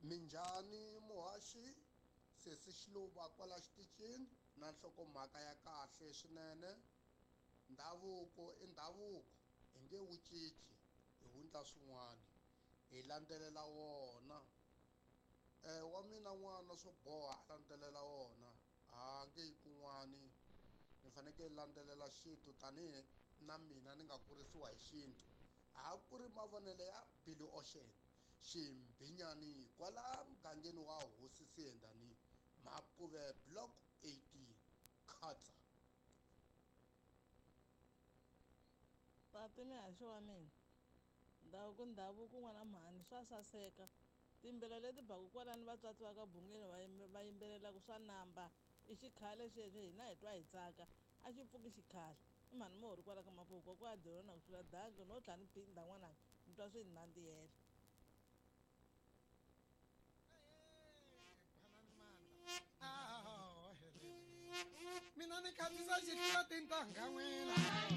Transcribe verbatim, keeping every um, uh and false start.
Minjhani muhaxi sesi Xiluva kwala xitichini na nhlokomhaka ya kahle swinene ndhavuko i ndhavuko hi nge wu cinci hi wundla swin'wana hi landzelela wona wa mina n'wana swo boha a landzelela wona a nge yi kun'wani ni fanekele landzelela xintu tanihi na mina ni nga kurisiwa hi xintu a ku ri mavonelo ya Billy Ocean Ximbinyani kwala mugangeni wa hosi Siyendani Mapuve block eighteen khatsa. Tati mihaxi wa mina ndhavuko ndhavuko n'wana mhani swa saseka timbila leti baku kwalani vatswatsi va ka bungeni va va yimbelelaka swa namba i xikhale xexo hina hi twa hi tsaka a xi pfuki xikhale i mhani mohori kwala ka mapuku ku a dirona ku tlula danki no tlha ni phinda n'wananga ni twa swi ni nandzihela. Mina ni khansisa xitlula tintangha n'wina.